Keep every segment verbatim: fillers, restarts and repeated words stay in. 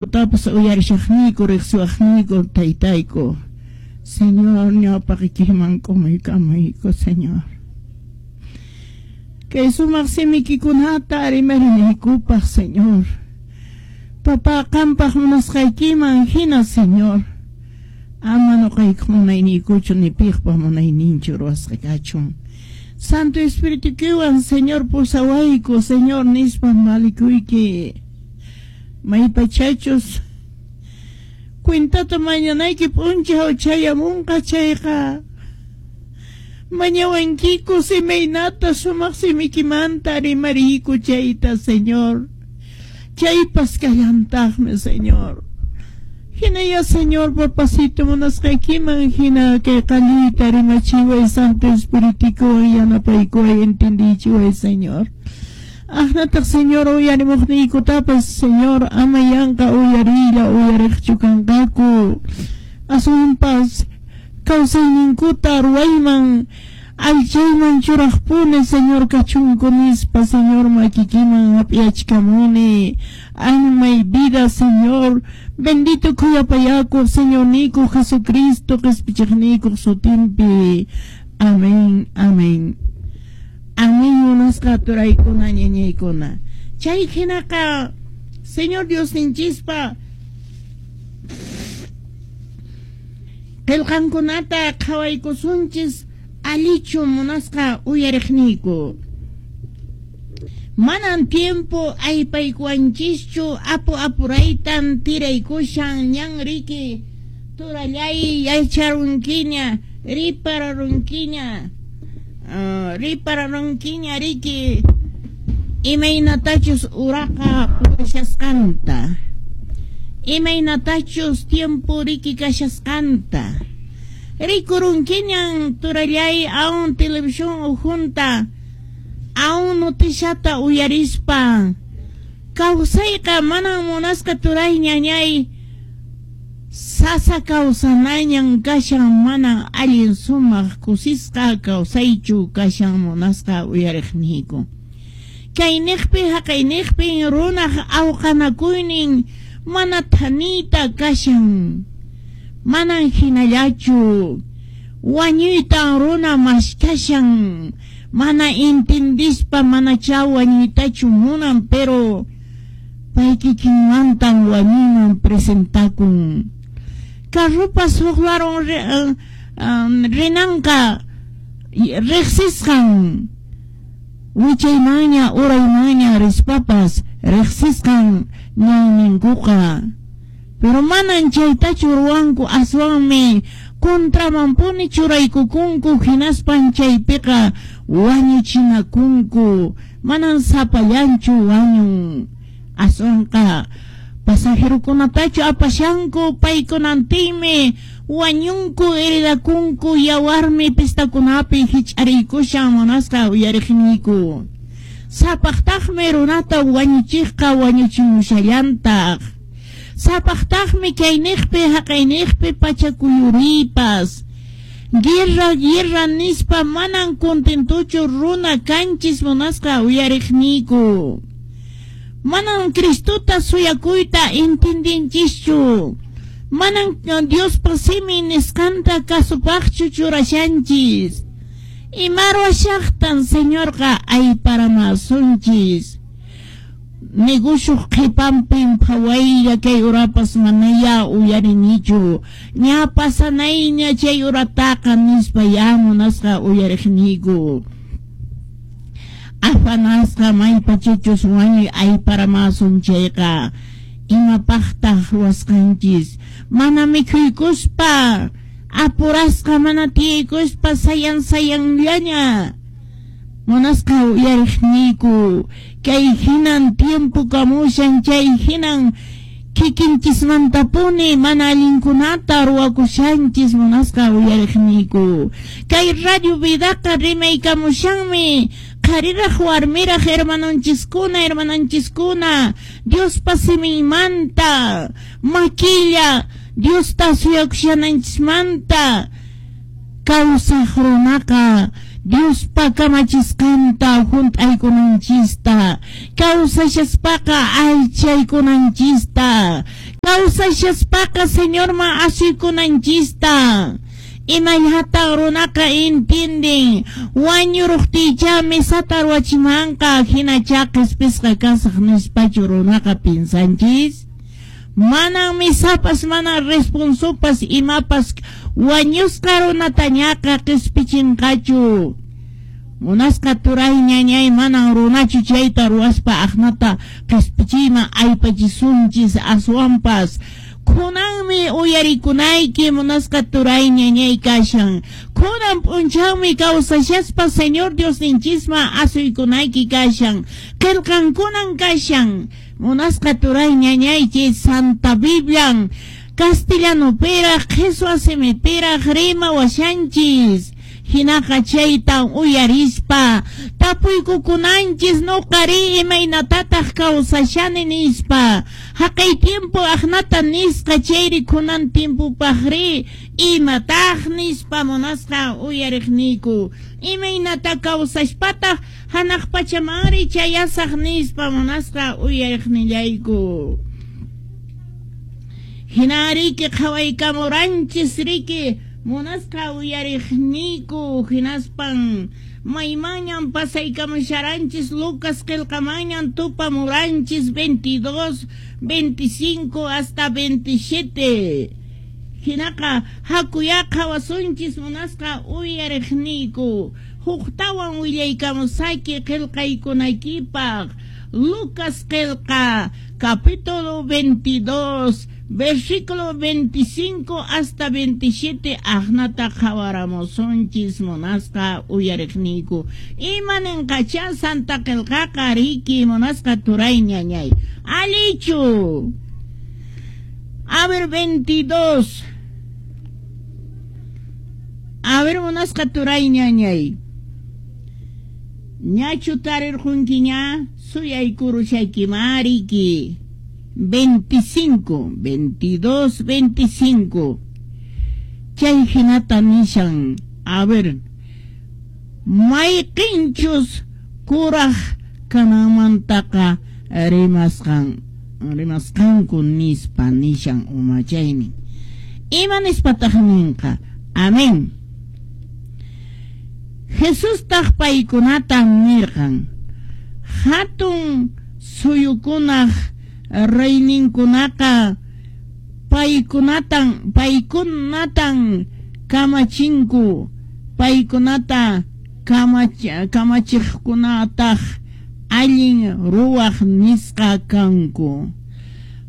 Tapas uyarishaqniyku riqsiwaqniyku taytayku. Señor, ñawpaqikiman k'umuykamayku, Señor. Kay sumaq simikikunata rimarinaykupaq, Señor. Papá, qampaq munasqaykiman hina, Señor. Ama nuqaykuq munayniykuchu ni piqpa munayninchu ruwasqa kachun. Santo Espiritukiwan, Señor, pusawayku, Señor, nispa malikuyki. Maypachachus cuentata mañanayki p'unchaw chayamunqa chayqa mañawankiku imaynata sumaq simikimanta rimariyku chayta, Señor. Chaypas kallantaqmi, Señor. Hinaya, Señor, papacito munasqaykiman hina kay qalluyta rimachiway, Santo Espiritukuwan yanapaykuway, entendichiway, Señor. Ahnataq, Señor, uyarimuqniykutapas, Señor, ama yanqa uyariylla uyariqchu kanqaku. Aswanpas kawsayninkuta ruwayman allchayman churaqpuni, Señor, kachunku nispa, Señor, makikiman hap'iyachkamuni. Almay vida, Señor, bendito khuyapayakuq Señorniyku Jesucristo qispichiqniykuq sutinpi. Amén, amén. Amén, munasqa turaykuna, ñañaykuna. Chay hinaqa, Señor Diosninchispa qillqankunata qhawaykusunchis allichu munasqa uyariqniyku. Manan tiempo aypaykuwanchischu apu apuraytan tiraykushan ñan riki turallay yacharunkiña ripararunkiña. Uh, ripararunkiña riki imaynatachus uraqa purishasqanta, imaynatachus tiempo riki kashasqanta, rikurunkiñan turallay aun televisión ujunta aun noticiata uyarispa kawsayqa manan munasqa turay ñañay sasa kawsanañan kashan mana allin sumaq kusisqa kawsaychu kashan munasqa uyariqniyku. Kayniqpi haqayniqpi runaq awqanakuynin mana thaniyta kashan, manan hinallachu wañuytan runa maskashan, mana intindispa manacha wañuytachu munan, pero paykikinmantan wañuyman presentakun. Carrupas huqlaron rinanqa riqsisqan wichaymanña uraymanña rispapas riqsisqan ñanninkuqa, pero manan chaytachu ruwanku, aswanmi contramanpuni churaykukunku, hinaspan chaypiqa wañuchinakunku, manan sapallanchu wañun, aswanqa pasajerokunatachu apashanku, paykunantinmi wañunku, heridakunku, yawarmi pistakunapi hich'ariykushan munasqa uyariqniyku. Sapaqtaqmi runata wañuchiqqa wañuchimushallantaq. Sapaqtaqmi kayniqpi haqayniqpi pachakuyuriypas. Guerra, guerra nispa manan contentuchu runa kanchis munasqa uyariqniyku. Manan Cristota suyakuyta entendinchischu. Manan Diospa simin nisqanta kasupaqchu churashanchis. Imarwashaqtan Señorqa ayparamasunchis. Negoshuq qhipanpin phawaylla kay urapas manaya uyarinichu. Ña pasanayña chay urataqa nispa ya munasqa uyariqniyku. Afanasqa maypachachus wañuy ayparamasun chayqa imapaqtaq ruwasqanchis, mana mikhuykuspa apurasqa mana tiyaykuspa sayan sayanllaña munasqa uyariqniyku. Kay hinan tiempo kamushan, chay hinan kikinchismantapuni mana allinkunata ruwakushanchis munasqa uyariqniyku. Kay radio vidaqa rimaykamushanmi qhariraq warmiraq hermanonchiskuna hermananchiskuna Diospa siminmanta makilla Diosta suyakushananchismanta kawsaq runaqa Diospa kamachisqanta hunt'aykunanchista, kawsashaspaqa aychaykunanchista, kawsashaspaqa Señorman asuykunanchista. Imayhatan runaqa entienden wañuruqtiycha misata ruwachimanqa hinacha qhispisqa kasaq nispachu runaqa pinsanchis? Manan misapas, manan responsopas imapas wañusqa runatañaqa qispichinqachu. Munasqa turay ñañay manan runachu chayta ruwaspa aqnata qispichiyman aypachisunchis aswanpas. Kunanmi uyarikunayki munasqa turay ñañay kashan. Kunan p'unchawmi kawsashaspa Señor Diosninchisman asuykunayki kashan. Qillqankunan kashan. Munasqa turay ñañaychi Santa Biblian castellanopiraq qhichwa simipiraq rimawashanchis. Hinaqa chaytan uyarispa tapuykukunanchis nuqari imaynatataq kawsashani nispa. Haqay tiempo aqnata nisqa chayri kunan tiempopaqri imataq nispa munasqa uyariqniyku. Imaynata kawsashpataq hanaq pachamanri chayasaq nispa munasqa uyariqnillayku. Hinariki qhawaykamuranchis riki munasqa uyariqniyku hinaspan maymanñan pasaykamusharanchis Lucas qillqamanñan tupamuranchis veintidós, veinticinco hasta veintisiete. Hinaqa hakuya qhawasunchis munasqa uyariqniyku. Huktawan willaykamusayki qillqaykunaykipaq. Lucas qillqa capítulo veintidós, versículo veinticinco hasta veintisiete aqnata qhawaramusunchis munasqa uyariqniyku. Ima ninqacha Santa qillqaqa riki munasqa turay ñañay. Alichu. A ver, veintidós. A ver, munasqa turay ñañay. Ñachu tarirqunkiña suyaykurushaykimariki. veinticinco, veintidós, veinticinco. Chay hinata nishan. A ver, mayqinchus kuraq kananmantaqa rimasqan rimasqanku nispa nishan umachaynin. Ima nispataq ninqa? Amén. Jesustaq paykunata nirqan. Hatun suyukunaq reyninkunaqa paykunatan paykunatan kamachinku, paykunata kamach kamachiqkunataq allin ruwaq nisqa kanku.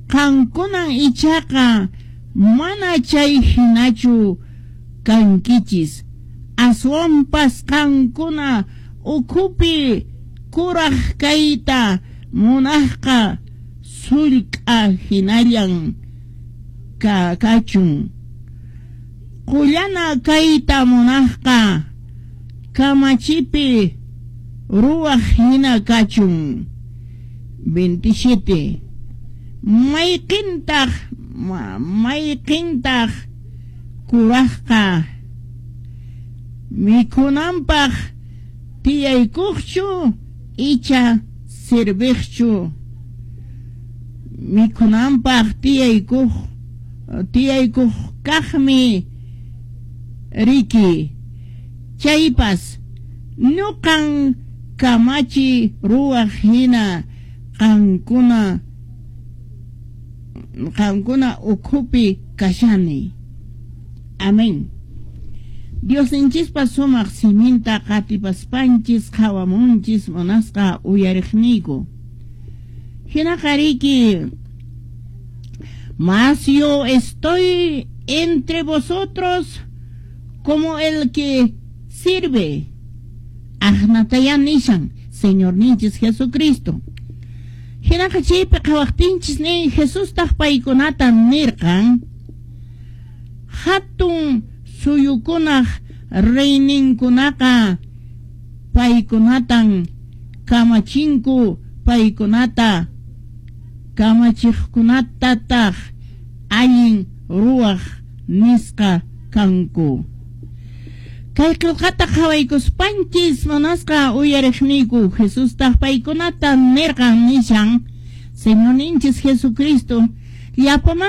Qankunan ichaqa mana chay hinachu kankichis. Aswanpas qankuna ukhupi kuraq kayta munaqqa sullk'a hinallan ka kachun. Qullana kayta munaqqa kamachipi ruwaq hina kachun. veintisiete. Mayqintaq mayqintaq kuraqqa mikhunanpaq tiyaykuqchu icha serviqchu? Mikhunanpaq tiyaykuq tiyaykuq kaqmi riki. Chaypas nuqan kamachi ruwaq hina qankuna qankuna ukhupi kashani. Amén. Diosninchispa sumaq siminta qatipaspanchis qhawamunchis munasqa uyariqniyku. Hinaqa riki, mas yo estoy entre vosotros como el que sirve. Aqnataya nishan Señorninchis Jesucristo. Hinaqa chaypi qhawaqtinchis nin Jesustaq paykunata nirqan hatun suyukunaq reyninkunaqa paykunatan kamachinku, paykunata kamachiqkunatataq allin ruwaq nisqa kanku. Kay qillqata qhawaykuspanchis munasqa uyariqniyku Jesustaq paykunata nirqan nishan Señorninchis Jesucristo llapaman